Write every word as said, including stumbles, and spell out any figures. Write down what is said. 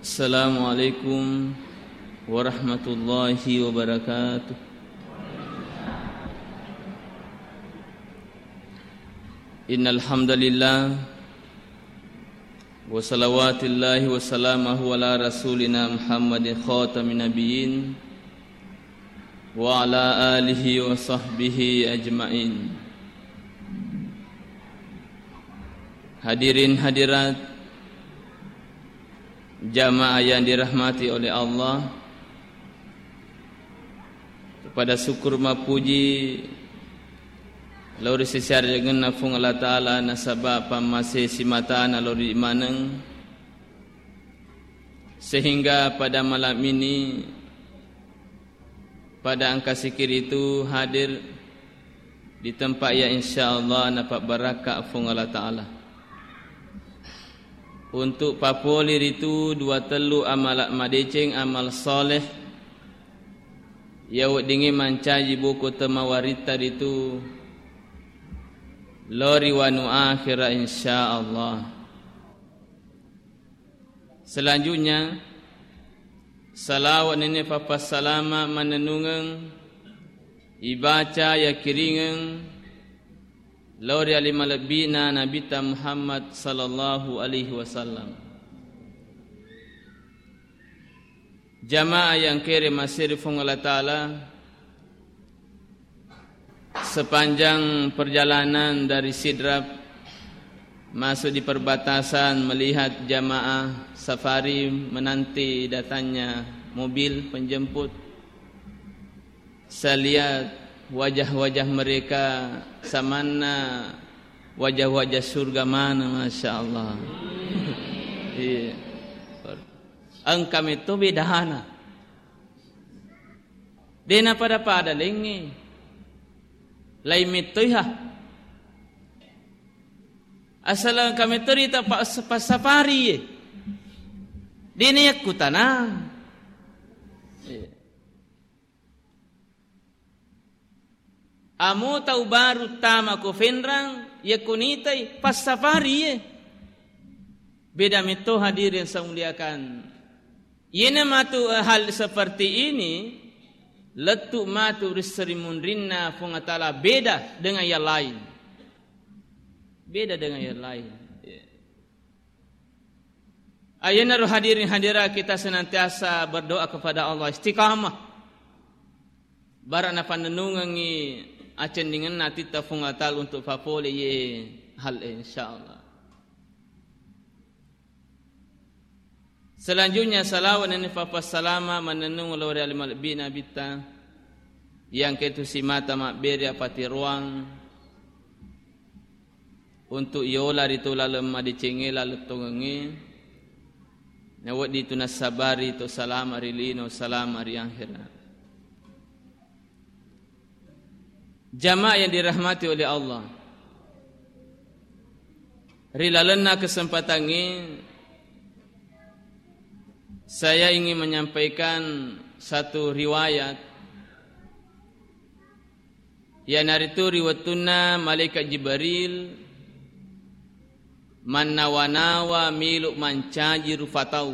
Assalamualaikum warahmatullahi wabarakatuh. Innal hamdalillah, wa salawatillahi wa salamuhu ala rasulina Muhammadin khatamin nabiyyin wa ala alihi wa sahbihi ajmain. Hadirin hadirat, jamaah yang dirahmati oleh Allah, pada syukur mappuji lao ri sesariangenna Fuang Allah Ta'ala nasaba pammase simatana lao ri maneng, sehingga pada malam ini, pada engka sikiritu hadir di tempat yang insya Allah napabbarakka Fuang Allah Ta'ala. Untuk papoli ritu dua tellu amala madeceng, amal soleh, iya weddingnge mancaji boko temawaritta ritu lao ri wanu akhira insya Allah. Selanjutnya, salawat nenne papassalama manennungeng ibaca yakiringeng lao ri ali malebbina Nabitta Muhammad sallallahu alaihi wasallam. Jamaah yang kere maseri Fuang Allah Ta'ala, sepanjang perjalanan dari Sidrap masuk di perbatasan, melihat jamaah safari menanti datangnya mobil penjemput, saya lihat wajah-wajah mereka samanna wajah-wajah surga mana, Masya Allah. Iya. Engka metto bedana. De' napada-pada laingnge. Laing mettoiha. Asal engka metto rita pa-, passafari ye. De' nayakkutana. Iya. Amo tau baru tama ko Fenrang, yakko nitai passafari ye. Beda metto hadirin saya muliakan. Iyena matu, eh, hal seperti ini, lettu matu ri serimunrinna Fuang Allah Ta'ala beda dengan yang lain. Beda dengan yang lain. Ya. Ayenaro hadirin hadirat, kita senantiasa berdoa kepada Allah, istiqamah. Bara napannennungengngi accendingenna atitta Fuang Allah Ta'ala untuk papole ye hal e, insyaallah. Selanjutnya, salawat nenni papassalama mannennung lao ri ale malebbi Nabitta, yang ketu simata mabbere apatiroang, untuk yola ritu laleng madecengnge, laleng tongengnge, nawedding tu nassabari to salama ri lino, salama ri akhera. Jamaah yang dirahmati oleh Allah, ri lalenna kesempatan ini, saya ingin menyampaikan satu riwayat, iyanaritu ri wettunna Malaikat Jibril mannawa-nawa melo mancaji rupa tau.